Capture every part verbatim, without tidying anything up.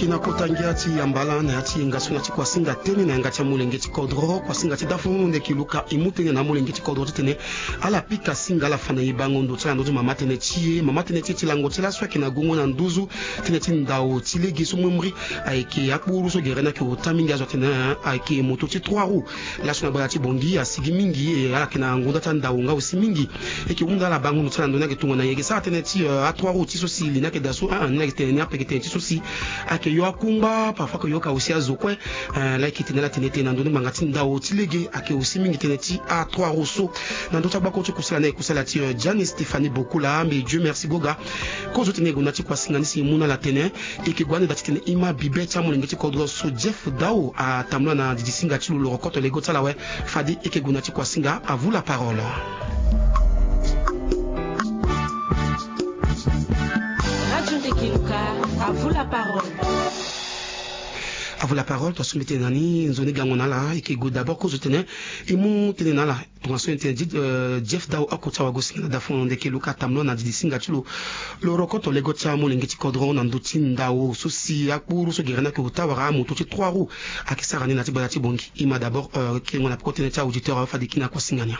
Eke na kota ngia ti yambala na ya ti yenga so na ti kuasinga tënë na yanga ti amolenge ti kodro, kuasinga ti dafu ndeke luka e mu tënë na amolenge ti kodro titene ala pika singa ala fa na e bango ndo ti ala na ndö ti mama tënë ti e. Mama tënë ti e ti lango ti laso ayeke na gongo na nduzu tënë ti ndao ti lege so memri ayeke akpuru so gere ni ayeke ota mingi azo atene ayeke moto ti trois roues. Laso na gbata ti Bangui asigi mingi e ala yeke na ngonda ti andao nga aussi mingi. Eke hunda ala bango ndo ti ala na ndö ni ayeke tongana e yeke sara tënë ti a trois roues ti so si li ni ayeke daa so a ni ayeke tene ni ape yeke tene ti so si ayeke yo akungba parfois ayeke yo ka aussi azo kue. Laa eke tene ala tene tene na ndö ni ngbanga ti ndao ti lege ayeke aussi mingi tënë ti a trois roues so. Na ndö ti agbako ti kusala ni ayeke kusala ti Gianni Stéphanie Bokula mbi Dieu merci goga. Kozo tene e gonda ti kuasinga ni si e mu na ala tene. Eke gue ande daa titene e ma bibe ti amolenge ti kodro so Jeff Dao atambula na didi singa ti lo lo rokoto lego ti ala awe. Fade eke gue na ti kuasinga. À vous la parole. Radio Ndeke Luka, à vous la parole. À vous la parole, to asumbi tene na ni nzoni gango na ala eke gue d'abord kozo tene e mu tene na ala. Tongaso e tene Jeff Dao oko ti awagosinga na dafono ndeke luka tambula na didi singa ti lo. Lo rokoto lego ti amolenge ti kodro na ndö ti ndao so si akpuru so gere ni ayeke ota wala amoto ti trois roues ayeke sara ni na ti gbata ti Bangui. E ma d'abord kengo na peko tënë ti auditeur awe fade e kiri na kuasinga ni.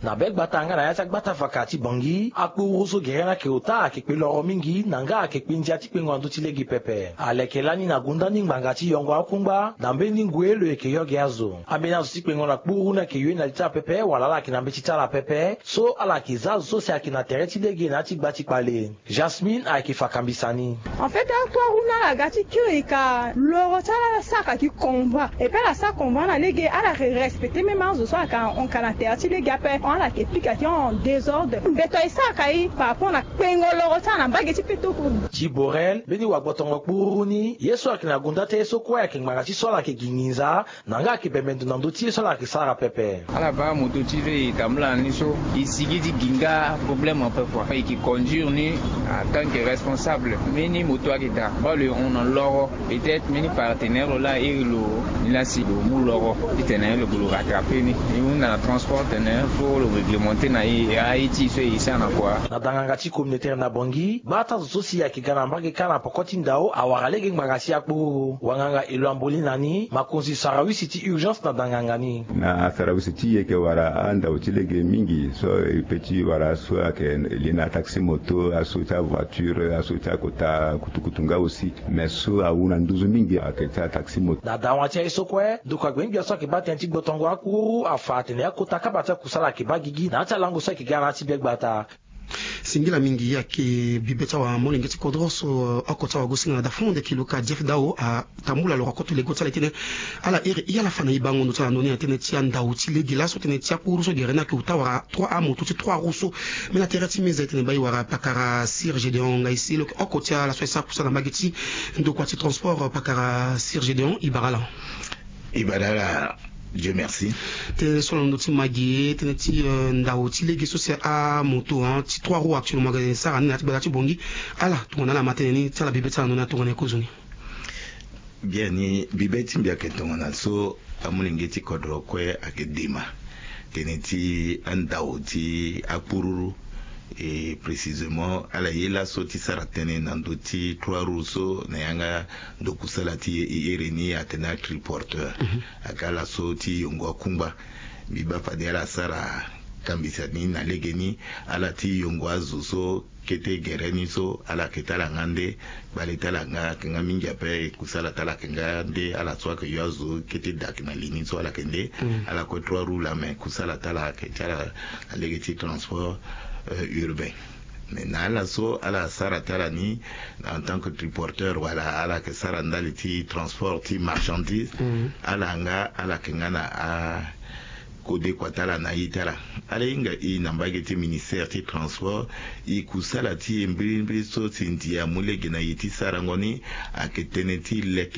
Na be gbata nga na ya ti agbata vaka ti Bangui akpuru so gere ni ayeke ota ayeke kpe loro mingi na nga ayeke kpe ndia ti kpengo na ndö ti lege pepe. Aleke lani na gonda ni ngbanga ti yongo akungba na mbeni ngoi lo yeke yo gi azo. Ambeni azo ti kpengo na kpuru ni ayeke yo ni na li ti ala pepe wala ala yeke na mbeti ti ala pepe. So ala yeke za azo so si ayeke na tere ti lege na ya ti gba ti kpale. Jasmine ayeke fa kambisa ni. En fait, a trois roues ni ala ga ti kiri ka loro ti ala sara ka gi combat. Et puis ala sara combat na lege ala yeke respecter même azo so ayeke ahon ka na tere ti lege ape. Ala yeke pika ti en désordre. Mbeto e sara ka e par rapport na kpengo loro ti ala na mbage ti petoko. Ti Borel mbeni wagbotongo kpuru ni ye so ayeke na gonda ti aye so kue ayeke ngbanga ti so ala yeke gi nginza. Na nga ayeke bembe ndo na ndö ti ye so ala yeke sara pepe. Ala baa moto ti lo e tambula na ni so e sigi ti gi nga problème ape kua. E yeke conduire ni en tant que responsable. Mbeni moto ayeke daa baa lo e hon na loro. Peut-être mbeni partenaire lo laa iri lo ni laa si lo mu loro titene lo gue lo rattraper ni. E hunda na transport tene fo lo réglementer na e aye ti e so e sara na kua. Na danganga ti communautaire na Bangui gbata zo so si ayeke ga na mbage kâ na poko ti ndao awara lege ngbanga si akpuru. Wanganga elo amboli na ni makonzi sarawisi ti urgence na danganga ni. Na sarawisi ti e yeke wara andao ti lege mingi so e pe ti wara so ayeke li na ataxi moto aso ti avoiture aso ti akota kutukutu nga aussi. Mais so awu na nduzu mingi ayeke ti ataxi moto. Na dawa ti aye so kue ndokua gbengbe so ayeke baa tënë ti gbotongo akpuru afa atene akota kaba ti akusala ayeke baa gigi na ya ti alango so ayeke ga na ya ti be gbata. Singila mingi ayeke bibe ti awamolenge ti kodro so oko ti awagosinga na dafu ndeke luka Jeff Dao atambula lo rokoto lego ti ala e tene ala iri e ala fa na e bango ndo ti ala na ndö ni na tënë ti andao ti lege laso tënë ti akpuru so gere ni ayeke ota wala trois amoto ti trois roues so. Mais na tere ti meza e tene baa e wara pakara Sir Gédéon Ngaï si lo yeke oko ti ala so e sara kusala na mbage ti ndokua ti transport pakara Sir Gédéon e bara ala. E bara ala. Dieu merci. Tënë so na ndö ti magi tënë ti ndao ti lege so si amoto ti trois roues actuellement aga e sara ni na ya ti gbata ti Bangui. Ala tongana ala ma tënë ni ti ala bibe ti ala na ndö ni atongana e kozo ni. Bien ni bibe ti mbi ayeke tongana so amolenge ti kodro kue ayeke dema tënë ti andao ti akpururu. Et précisément ala ye laso ti sara tënë na ndö ti trois roues so na yanga ndo kusala ti e e iri ni atene atriporteur. Aga ala so ti yongo akungba. Mbi baa fade ala sara kambisa ni na legeni ala ti yongo azo so kete gere ni so ala yeke ti ala nga nde. Kpale ti ala nga ayeke nga mingi ape kusala ti ala ayeke nga nde ala so ayeke yo azo kete daa ayeke na li ni so ala yeke nde. Ala kue trois roues laa me kusala ti ala ayeke ti ala na lege ti transport urbain. Mais na ala so ala sara ti ala ni en tant que triporteur wala ala yeke sara ndali ti transport ti marchandise. Ala nga ala yeke nga na a kode kua ti ala na ye ti ala. Ala hinga e na mbage ti ministère ti transport. E kusala ti e mbirimbiri so si ndia amu lege na e ti sarango ni ayeke tënë ti leke